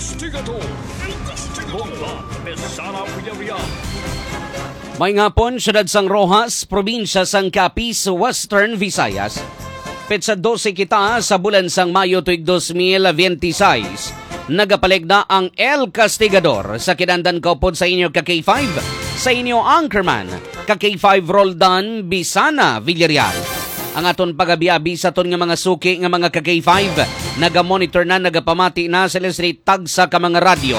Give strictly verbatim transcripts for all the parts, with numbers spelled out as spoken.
Kastigador. Kastigador. May ngapon, siyudad sang Roxas, probinsya sang Capiz, Western Visayas. Petsa dose kita sa bulan sang Mayo tuig dos mil veintiséis. Nagapaligda ang El Castigador sa kinandan kaupod sa inyo ka K five, sa inyo anchorman, ka K five Roldan Bisana Villarreal. Ang aton pagabi-abi sa aton nga mga suki nga mga ka K five, naga-monitor na, nagapamati na sila sa tagsa ka mga radyo.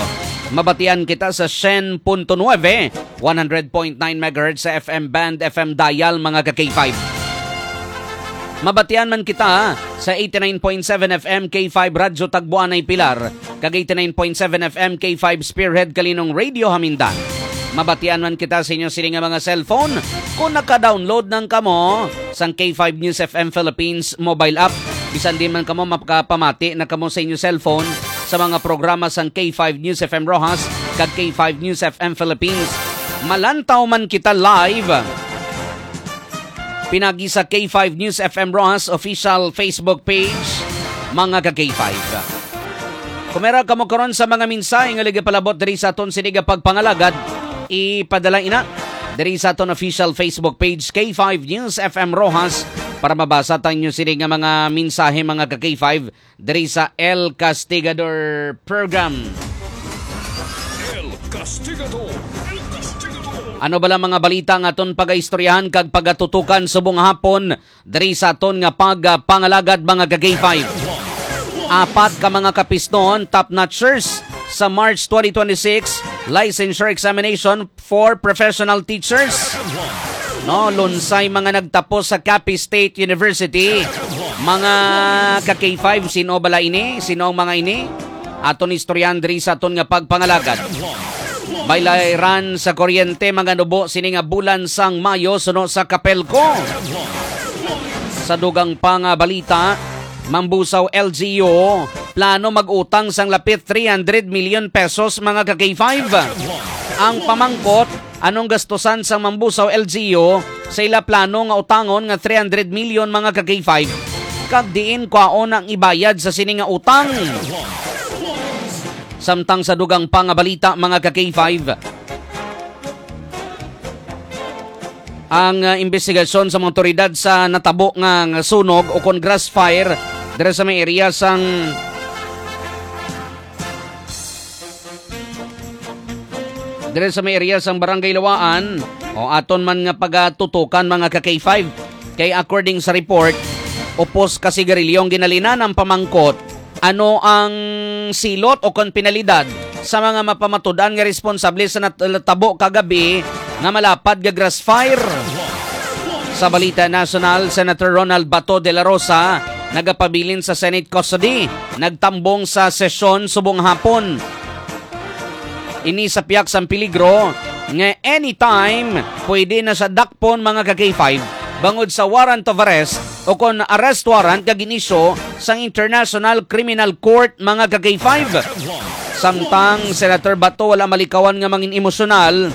Mabatian kita sa syen punto nuebe, one hundred point nine megahertz sa F M band, F M dial, mga ka K five. Mabatian man kita sa eighty-nine point seven F M K five Radyo Tagboanay Pilar, kag eighty-nine point seven F M K five Spearhead Kalinong Radio Hamindan. Mabatian man kita sa inyo sini nga mga cellphone kung naka-download nang kamo sang K five News F M Philippines mobile app. Bisan di man kamo makapamati na kamo sa inyo cellphone sa mga programa sang K five News F M Roxas kag K five News F M Philippines. Malantaw man kita live pinagi sa K five News F M Roxas official Facebook page, mga ka K five. Kung meron kamo karon sa mga mensahe nga ligapalabot diri sa aton sini nga pagpangalagad, ipadala ina diri sa aton official Facebook page, K five News F M Roxas, para mabasa ta inyo sini nga mga mensahe, mga ka K five, diri sa El Castigador Program. El Castigador. El Castigador. Ano bala mga balita nga aton pagaistoryahan kag pagatutukan subong hapon diri sa aton nga pagpangalagad, mga ka K five? Apat ka mga kapisnon, top notchers sa March twenty twenty-six licensure examination for professional teachers. No, lunsay mga nagtapos sa Capiz State University. Mga ka K five, sino bala ini? Sino ang mga ini? Aton istoryahan diri sa aton nga pagpangalagad. Baylayran sa kuryente, mga nubo sini nga bulan sang Mayo suno sa Capelco. Sa dugang pa nga balita, Mambusaw L G U, plano mag-utang sang lapit three hundred million pesos, mga ka K five. Ang pamangkot, anong gastusan sang Mambusaw L G U sa ila plano nga utangon nga three hundred million, mga ka K five? Kag diin kwaon ang ibayad sa sini nga utang? Samtang sa dugang pa nga balita, mga ka K five, ang, ah, imbestigasyon sa mga awtoridad sa natabo nga, nga sunog o kon grass fire diri sa may area sang, diri sa may area sang Barangay Lawaan, o aton man nga pagatutukan, mga ka K five. Kay according sa report, upos ka sigarilyo ang ginalinan ang pamangkot. Ano ang silot o kon penalidad sa mga mapamatud-an nga responsable sa nat-, natabo kagabi nga malapad nga grass fire? Sa balita nasyonal, Senator Ronald Bato de la Rosa nagapabilin sa Senate custody, nagtambong sa sesyon subong hapon. Ini sa pihak sang peligro nga anytime pwede na siya dakpon, mga ka K five, bangod sa warrant of arrest o kon arrest warrant nga gin-issue sang International Criminal Court, mga ka K five. Samtang Senator Bato wala malikawan nga mangin emosyonal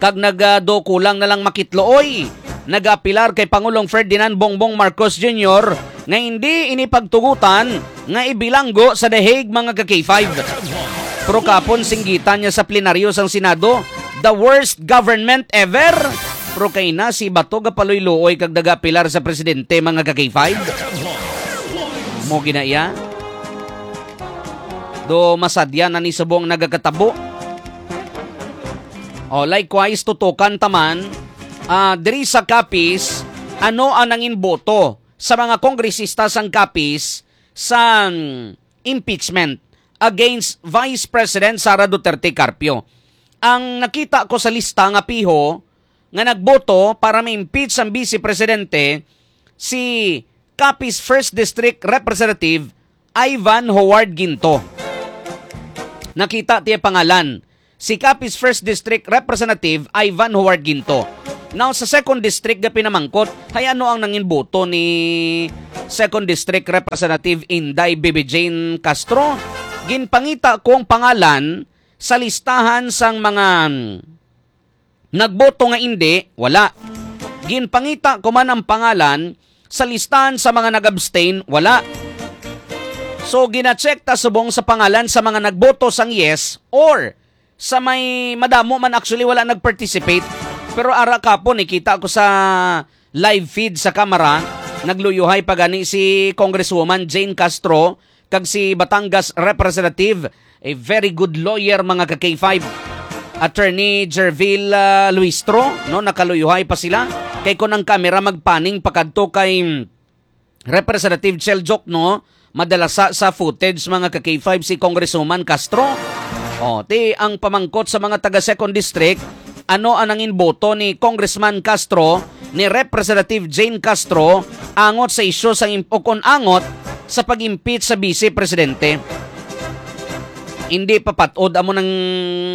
kag nagado kulang na lang makitlooy, nagaapilar kay Pangulong Ferdinand Bongbong Marcos Junior nga hindi ini pagtugutan nga ibilanggo sa The Hague, mga ka K five. Pero kapon singgitan niya sa plenaryo sang Senado, "The worst government ever." Pero kay na si Bato gapaluy-luoy kag nagaapilar sa presidente, mga ka K five. Mo gina iya. Do masadya na ni subong nagakatabo. O, likewise, tutukan taman, ah, diri sa Capiz, ano ang nangin boto sa mga kongresista sang Capiz sa, mm, impeachment against Vice President Sara Duterte Carpio? Ang nakita ko sa lista nga piho nga nagboto para ma-impeach ang Vice Presidente si Capiz First District Representative Ivan Howard Ginto. Nakita tiya pangalan, si Capiz First District Representative Ivan Howard Ginto. Now, sa Second District nga pinamangkot, hay ano ang nangin boto ni Second District Representative Inday Bibi Jane Castro? Ginpangita ko ang pangalan sa listahan sang mga nagboto nga indi, wala. Ginpangita ko man ang pangalan sa listahan sa mga nag-abstain, wala. So, gina-check ta subong sa pangalan sa mga nagboto sang yes or sa may madamo man actually wala nag-participate. Pero ara kapon, nakita ko sa live feed sa Kamara, nagluyuhay pa gani si Congresswoman Jane Castro kag si Batangas Representative, a very good lawyer, mga ka-K five, Attorney Jervil, ah, Luistro, no, nakaluyuhay pa sila. Kay kung ang kamera magpaning pakadto kay Representative Chel Diokno, madala sa, sa footage, mga ka-K five, si Congresswoman Castro. O, ti ang pamangkot sa mga taga Second District, ano ang nangin boto ni Congressman Castro, ni Representative Jane Castro, angot sa isyu sa im-, o kon angot sa pag-impeach sa Vice Presidente? Hindi pa patod amo ng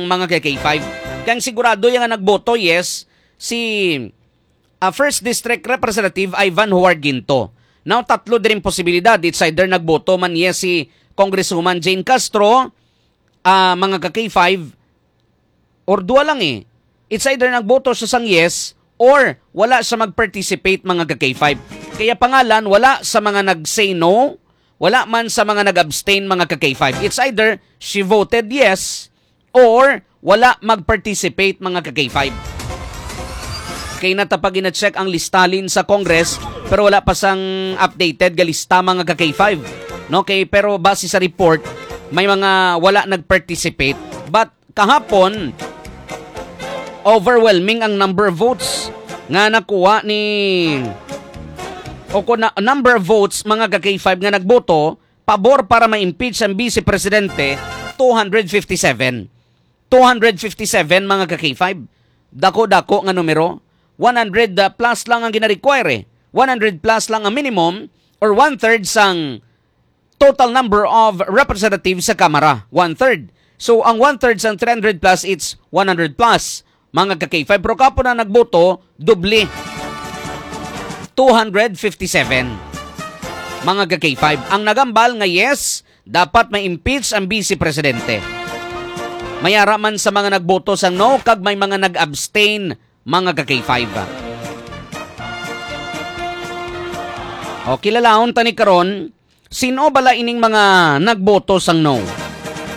mga ka-K five. Kaya sigurado yung nga nagboto, yes, si ah, First District Representative Ivan Howard Ginto. Now, tatlo din posibilidad. It's either nagboto man yes si Congresswoman Jane Castro, ah, mga ka-K five, or dua lang eh. It's either nagboto siya sang yes or wala siya mag-participate, mga ka-K five. Kaya pangalan, wala sa mga nag-say no, wala man sa mga nag-abstain, mga ka-K five. It's either she voted yes or wala mag-participate, mga ka-K five. Kay natapag na-check ang listalin sa Congress, pero wala pa sang updated nga lista, mga ka-K five. No, kay, pero base sa report, may mga wala nag-participate. But kahapon, overwhelming ang number of votes nga nakuha ni, o kung na, number of votes, mga ka-K five, nga nagboto pabor para ma-impeach ang Vice Presidente, two hundred fifty-seven. Two hundred fifty-seven, mga ka-K five. Dako-dako nga numero. One hundred plus lang ang gina-require eh. One hundred plus lang ang minimum or one-third sang total number of representatives sa Kamara. One-third. So, ang one-third sang three hundred plus, it's one hundred plus, mga ka-K five. Pero kapo na nagboto, doble. Two hundred fifty-seven, mga ka-K five. Ang nagambal nga yes, dapat ma-impeach ang Vice Presidente. May ara man sa mga nagboto sang no, kag may mga nag-abstain, mga ka-K five. O, kilalahon ta ni karon, sino bala ining mga nagboto sang no?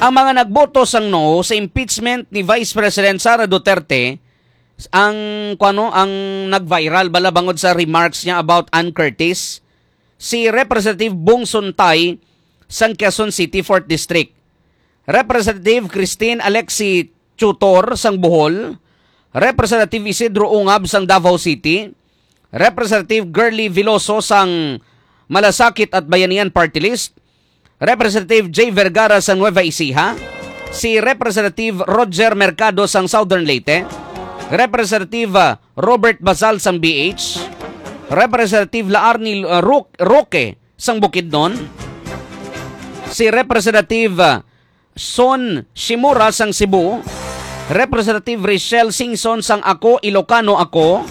Ang mga nagboto sang no sa impeachment ni Vice President Sara Duterte, ang, kuwano, ang nag-viral bala bangod sa remarks niya about Ann Curtis, si Representative Bong Suntay sang Quezon City, Fourth District, Representative Christine Alexi Tutor sang Bohol, Representative Isidro Ungab sang Davao City, Representative Girly Veloso sang Malasakit at Bayanihan Party List, Representative Jay Vergara sang Nueva Ecija, si Representative Roger Mercado sang Southern Leyte, Representative, ah, Robert Basal sang B H, Representative Laarni, ah, Ro-, Roque sang Bukidnon, si Representative, ah, Son Shimura sang Cebu, Representative Richelle Singson sang Ako Ilocano Ako,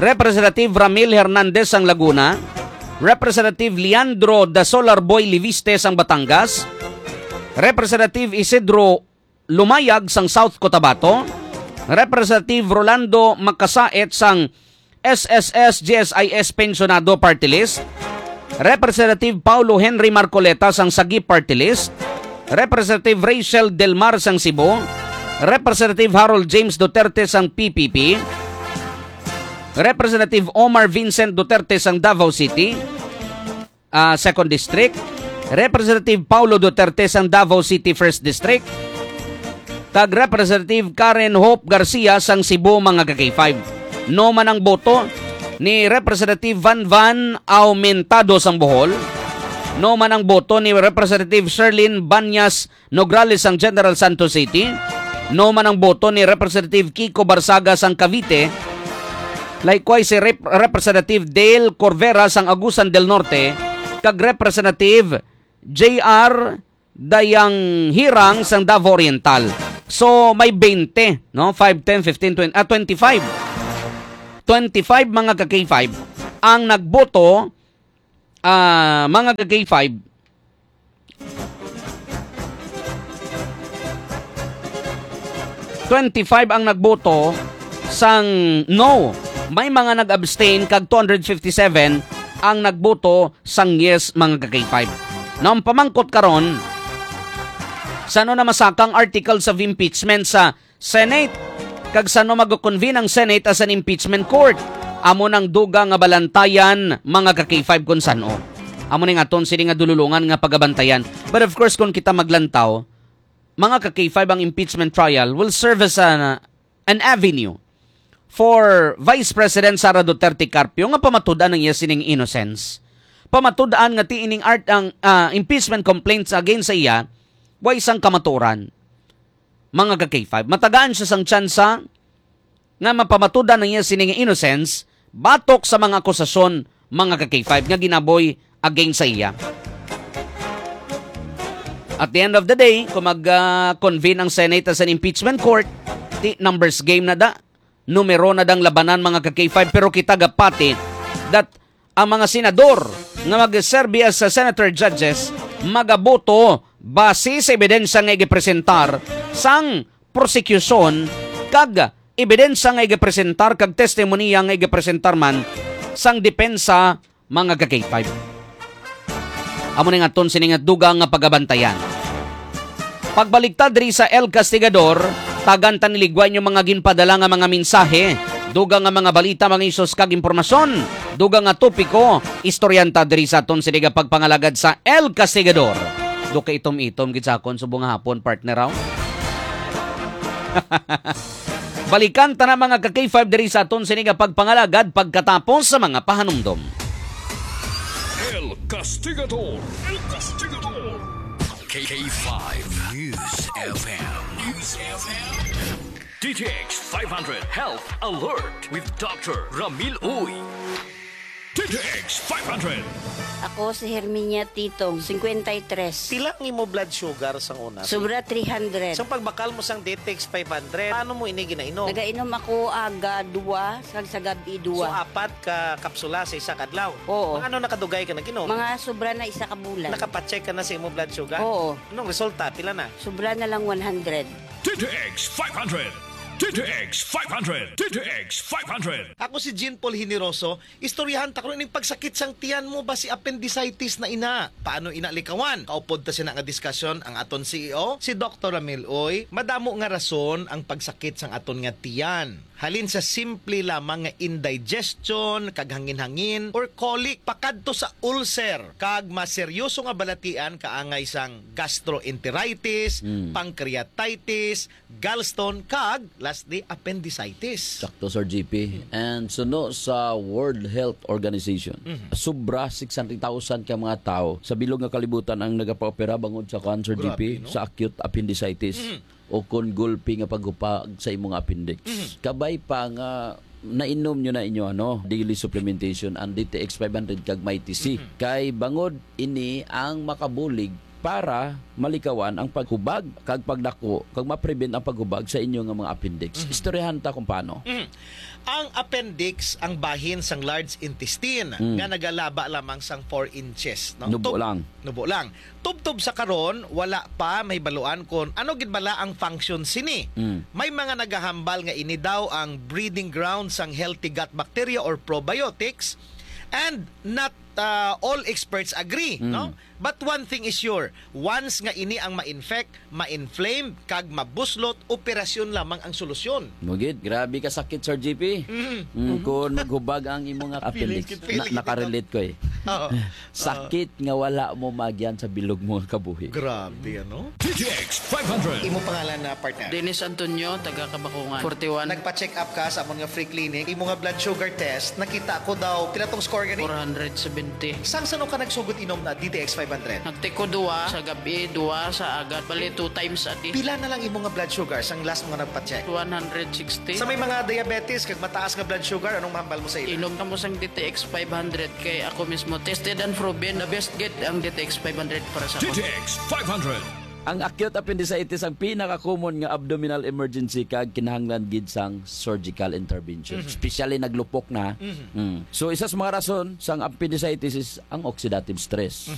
Representative Ramil Hernandez sang Laguna, Representative Leandro Dasolarboy Leviste sang Batangas, Representative Isidro Lumayag sang South Cotabato, Representative Rolando Makasaet sang S S S G S I S Pensionado Party List, Representative Paulo Henry Marcoleta sang Sagip Party List, Representative Rachel Del Mar sang Cebu, Representative Harold James Duterte sang P P P, Representative Omar Vincent Duterte sang Davao City, ah, Second District, Representative Paulo Duterte sang Davao City First District, kag Representative Karen Hope Garcia sang Cebu, mga ka-K five. No man ang boto ni Representative Van Van Aumentado sang Bohol, no man ang boto ni Representative Sherlyn Banyas Nograles sang General Santos City, no man ang boto ni Representative Kiko Barzaga sang Cavite, likewise si Rep-, Representative Dale Corvera sang Agusan del Norte, kag Representative J R Dayang Hirang sang Davao Oriental. So, may twenty, no? Five, ten, fifteen, twenty, ah, twenty-five. Twenty-five, mga ka-K five, ang nagboto, ah, mga ka-K five, twenty-five ang nagboto sang no. May mga nag-abstain kag two hundred fifty-seven ang nagboto sang yes, mga ka-K five. Now, ang pamangkot karon, sano na masaka ang articles of impeachment sa Senate? Kag sano mag-convene ang Senate as an impeachment court? Amo nang dugang nga balantayan, mga ka-K five, kung sano. Amo ning aton sini nga dululungan nga pagabantayan. But of course, kung kita maglantaw, mga ka-K five, ang impeachment trial will serve as an, an avenue for Vice President Sara Duterte Carpio nga pamatud-an ang iya sining innocence. Pamatud-an nga ti ining art ang, ah, impeachment complaints against sa iya, way sang kamaturan. Mga ka-K five, matagaan siya sang tsansa nga mapamatud-an ang iya sining innocence batok sa mga akusasyon, mga ka-K five, nga ginaboy against sa iya. At the end of the day, kung mag-, ah, convene ang Senate as an impeachment court, ti numbers game na da, numero na dang labanan, mga ka-K five, pero kita gapati that ang mga senador nga magserbi as sa senator judges magaboto base sa ebidensya nga igapresentar sang prosekusyon kag ebidensya nga igapresentar kag testimonya nga igapresentar man sang depensa, mga ka-K five. Amo ning aton sini nga dugang nga pagabantayan. Pagbalik ta diri sa El Castigador, tagan ta ni ligwa inyo mga ginpadala nga mga mensahe, dugang nga mga balita, mga isos kag impormasyon, dugang nga topiko, istoryahan ta diri sa aton sini nga pagpangalagad sa El Castigador. Do kay itom-itom gid sa akon subong nga hapon, partner, aw. Balikan ta na, mga ka-K five, diri sa aton sini nga pagpangalagad pagkatapos sa mga pahanumdom. El Castigador. El Castigador. K five News F M. News F M. D T X five hundred Health Alert with Doctor Ramil Uy. D T X five hundred. Ako si Herminia Titong, cincuenta y tres. Pila ang imo blood sugar sang una? Sobra three hundred. Sa pagbakal mo sang D T X five hundred, paano mo ini ginainom? Nagainom ako aga dua, kag sa gabi So, dua. Apat ka kapsula sa isa ka adlaw? Oo. Mga ano nakadugay ka nag-inom? Mga sobra na isa ka bulan. Nakapacheck ka na sa imo blood sugar? Oo. Anong resulta? Pila na? Sobra na lang one hundred. D T X five hundred. D T X five hundred. D T X five hundred. Ako si Jean Paul Generoso. Istoryahan ta karon ining pagsakit sang tiyan mo, basi appendicitis na ina. Paano ina likawan? Kaupod ta sina nga diskusyon ang aton C E O, si Doktor Ramil Uy. Madamo nga rason ang pagsakit sang aton nga tiyan. Halin sa simple lamang nga indigestion, kag hangin-hangin, or colic, pakadto sa ulcer, kag mas seryoso nga balatian kaangay sang gastroenteritis, Mm. pancreatitis, gallstone, kag, lastly, appendicitis. Sakto, Sir G P. And suno sa World Health Organization, Mhm. sobra six hundred thousand ka mga tawo sa bilog nga kalibutan ang nagapaopera bangod sa cancer, Grabe, G P, no? sa acute appendicitis Mhm. o kon gulpi nga paghupag sa imong appendix. Mhm. Kabay pa nga nainom nyo na inyo, ano, daily supplementation, ang D T X five hundred kag Mighty C. Mhm. Kay bangod ini ang makabulig para malikawan ang paghubag kag pagdako, kag ma-prevent ang paghubag sa inyo nga mga appendix. Mhm. Istoryahan ta kung paano. Mhm. Ang appendix ang bahin sang large intestine Mm. nga nagalaba lamang sang four inches, no? Nubo Tub-, lang. nubo lang. Tubtob sa karon, wala pa mahibaluan kon ano gid bala ang function sini. Mm. May mga nagahambal nga ini daw ang breeding ground sang healthy gut bacteria or probiotics, and not, uh, all experts agree, Mm. no? But one thing is sure, once nga ini ang ma-infect, ma-inflame, kag mabuslot, operasyon lamang ang solusyon. Mugid, grabe ka sakit, Sir G P. Mm. Mm, kung maghubag ang imo nga Feeling appendix. kit, feeling Na-, kit nakarelate ko eh. Oo. Sakit nga wala mo magyan sa bilog mo nga kabuhi. Grabe, ano? D T X five hundred. Imo pangalan na, partner? Dennis Antonio, taga Kabakungan, forty-one. Nagpa-check up ka sa amon nga free clinic. Imo nga blood sugar test, nakita ko daw, pila tong score gani? Four hundred seventy. Sang sano ka nagsugod inom na D T X five hundred? Nagtiko dua sa gabi, dua sa agad. Bali, two times a day. Pila na lang imo nga blood sugar sang last mo nga nagpa-check? One hundred sixty. Sa may mga diabetes kag mataas nga blood sugar, anong mahambal mo sa ila? Inom kamo sang D T X five hundred kay ako mismo tested and proven, the best gid ang D T X five hundred para sa D T X five hundred. Ang acute appendicitis ang pinaka-common nga abdominal emergency kag kinahanglan gid sang surgical intervention. Mhm. Especially naglupok na. Mhm. Mm. So, isa sa mga rason sang appendicitis is ang oxidative stress. Mhm.